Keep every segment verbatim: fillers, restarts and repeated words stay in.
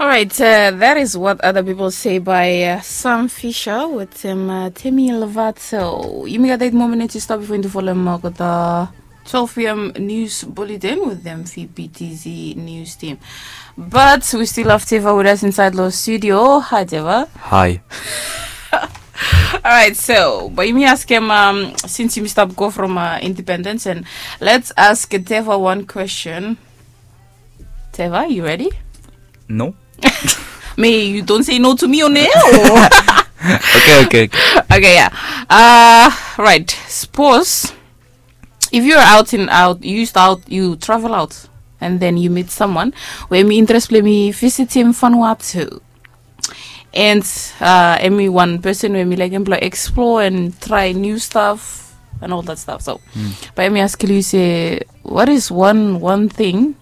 Alright, uh, that is what other people say by uh, Sam Fisher with um, uh, Temi Lovato. Yumi gat eight more minutes i stap before into follow mo gat uh, twelve p.m. news bulletin with them V P T Z news team. But we still have Teva with us inside the studio. Hi, Teva. Hi. Alright, so but yumi ask him um, since yumi stop go from uh, independence and let's ask Teva one question. Teva, you ready? No. Me, you don't say no to me on air. Okay, okay, okay. Okay, yeah. Uh, right. Suppose if you're out and out, you used out, you travel out, and then you meet someone where mi interest play mi visit him Vanuatu. And uh, emi one person where mi like him play explore and try new stuff and all that stuff. So, but emi ask you say, what is one one thing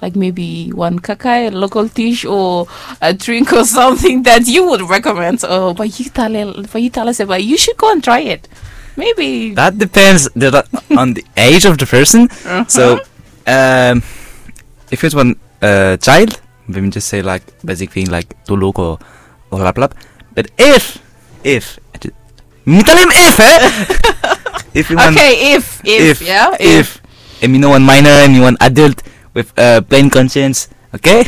like maybe one kakai, local dish, or a drink or something that you would recommend. Or but you tell but you tell us about you should go and try it. Maybe That depends the, on the age of the person. So, um, if it's one uh, child, we will just say like basic thing like tuluk or, or laplap. But if, if, mi tell him if, eh? If you want, okay, if if, if, yeah, if, and you know one minor and you want adult with uh, plain conscience, okay?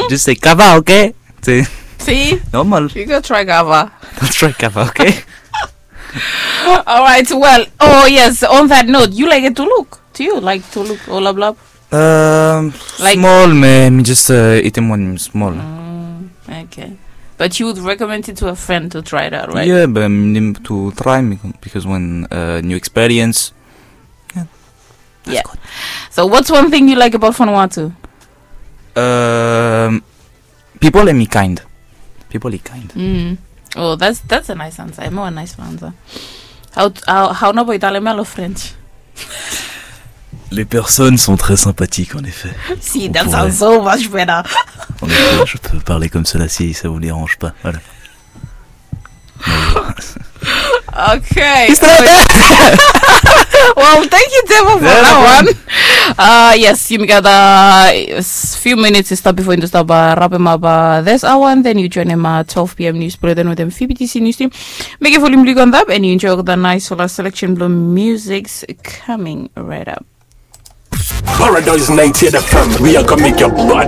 Just say kava, okay? Say See, normal. You go try kava. Don't try kava, okay? All right. Well, oh yes. On that note, you like it tuluk? Do you like tuluk or laplap? Um, Like- small, man. Just uh, eat him when small. Okay. But you would recommend it to a friend to try it out, right? Yeah, but um, him to try me because when uh, new experience. Yeah. So what's one thing you like about Vanuatu? Um, people are me kind. People are kind. Mm. Oh, that's that's a nice answer. More a nice answer. How how how no boy tale melo French? Les personnes sont très sympathiques en effet. See, On that pourrait- sounds so much better. En effet, je peux parler comme cela si ça vous dérange pas. Voilà. Okay. Well, thank you, Teva, for Yeah, that no one. Uh, yes, you got a few minutes to stop before you stop uh, wrap him up uh, this hour, and then you join him at twelve p.m. news bulletin with them V P T C news team. Make a volume click on that, and you enjoy the nice solar selection blue music's coming right up. Paradise ninety-eight F M, we are gonna make your body